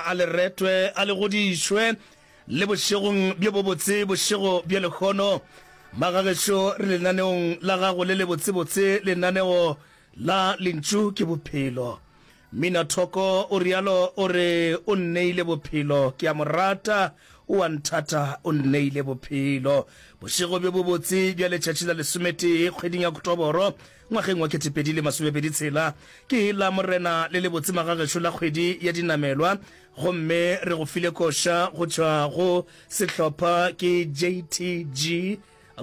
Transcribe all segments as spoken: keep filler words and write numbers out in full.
a le retwe, a le godišwe, le bošegong bjo bobotse, bošego bja lehono. Magagešo, re lenaneong la gago le lebotsebotse, lenaneo la Lentšu ke Bophelo. Mina Thoko o realo o re o nneile bophelo, ke a mo rata, o a nthata, o nneile bophelo. Bošego bjo bobotse bja letšatši la lesometee kgweding ya Oktoboro ngwageng wa ketepedi le masomepedi tshela ke la Morena le lebotse magagešo la kgwedi ya dinamelwa, gomme re go file koša go tšwa go sehlopha ke J T G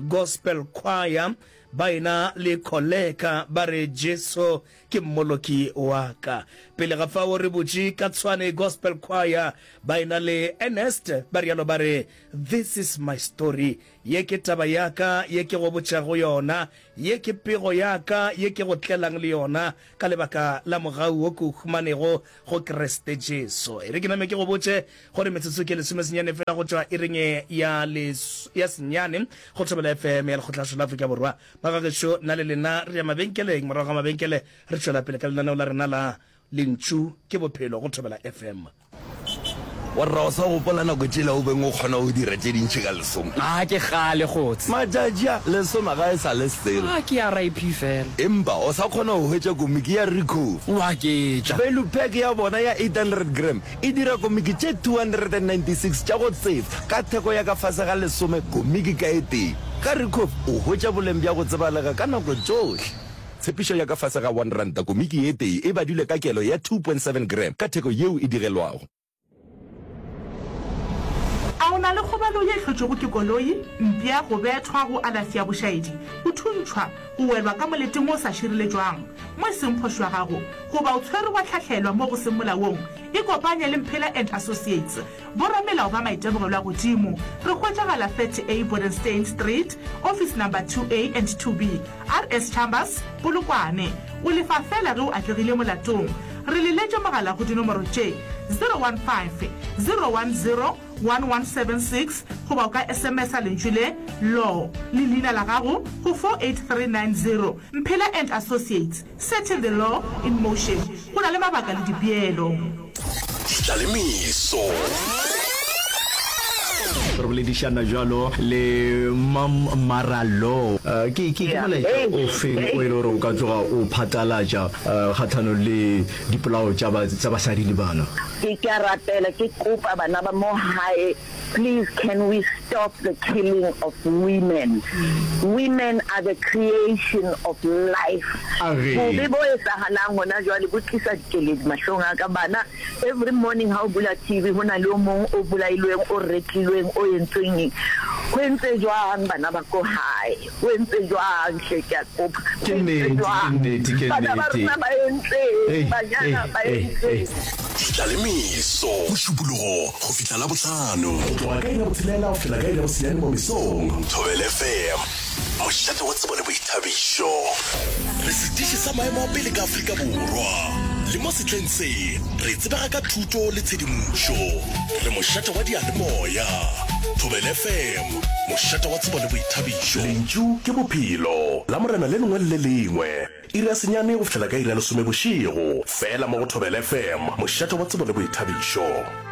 Gospel Choir ba ena le Kholeka ba re Jesu ke Mmoloki wa ka. Pele ga fao re butše ka Tshwane Gospel Choir ba ena le Ernest ba rialo ba re This is my story, ye ke taba ya ka ye ke go botšago yona, ye ke pego ya ka ye ke go tlelang le yona ka lebaka la mogau wo ke o humanego go Kriste Jesu. E re ke name ke go botše gore metsotso ke lesomesenyane fela go tšwa iring ya les, ya senyane go Thobela F M ya Lekgotlašo la Afrika Borwa. Bagagešo, nna le lena re ya mabenkeleng, morago ga mabenkele re tšwela pele ka lenaneo la rena la Lentšu ke Bophelo go Thobela F M. Warra o sa gopola nako tšela o beng o kgona go dira tše dintši ka lesome? A ke kgale kgotse. Matšatši a, lesome ga e sa le selo. A ke R I P fela. Empa o sa kgona go hwetša komiki ya Ricoh. O aketša. Value pack ya bona ya eight hundred gram e dira komiki tše two hundred and ninety six tša go tsefa ka theko ya ka fase ga lesome komiki ka e tee. Ka Ricoh o hwetša boleng bja go tsebalega ka nako tšohle. Tshepišo ya ka fase ga one ranta komiki e tee e badilwe ka kelo ya two point seven gram ka theko yeo e digelwago. A o na le kgobalo ye e hlotšwego ke koloi, mpša, go bethwa, go alafi ya bošaedi, go thuntšhwa, go welwa ka moleteng wo o sa šireletšwang, mo e seng phošo ya gago, goba o tshwerwe wa hlahlelwa mo go seng molaong? Ikopanye le Mphela and Associates, boramelao ba maitemogelo a godimo. Re hwetšagala thirty A Bodenstein Street, Office Number two A and two B, R S Chambers, Polokwane. O lefa feela ge o atlegile molatong. Re leletše mogala go dinomoro tše, zero one five, zero one zero, one one seven six goba o ka S M S-a lentšu le, Law, le leina la gago go four eight three nine zero. Mphela and Associates, setting the law in motion. Go na le mabaka le dipeelo. Tlalemeso. Re boledišana bjalo le Mam Maralo. Ke ke ke molaetša o feng o e le gore o ka tloga o phatlalatša kgahlanong le dipolao tša ba tša basadi le bana? Ke ke a rapela, ke kopa bana ba mo hae, please can we stop the killing of women? Women are the creation of life. Age. Bobe bo etsahalang hona jwale bo tlisa dikeledi mahlong a ka. Bana, every morning ha o bula T V ho na le o mong o bolailweng, o retlilweng, o entsweng eng. Ho entse jwang bana ba ko hae? Ho entse jwang hle, ke a kopa. Ke Ho entse nnete, ke jwang? nnete, ke Bana ba nnete. rona ba entseng? Ei, Banyana ei, ba ei, ei. entseng? Tlalemeso. Mošupologo go fihla Labohlano. Go tloga ka iri ya botshelela go fihla ka iri ya bosenyane mo mesong. Thobela F M. Mošate wa tsebo le boithabišo. Re setiši sa maemo a pele ka Afrika Borwa. Le mo sehleng se, re tsebega ka thuto le tshedimošo. Re mošate wa diyalemoya. Thobela F M. Mošate wa tsebo le boithabišo. Lentšu ke bophelo. Lamorena le lengwe le le lengwe. Iri ya senyane go fihlela ka iri ya lesome bošego. Fela mo go Thobela F M. Mošate wa tsebo le boithabišo.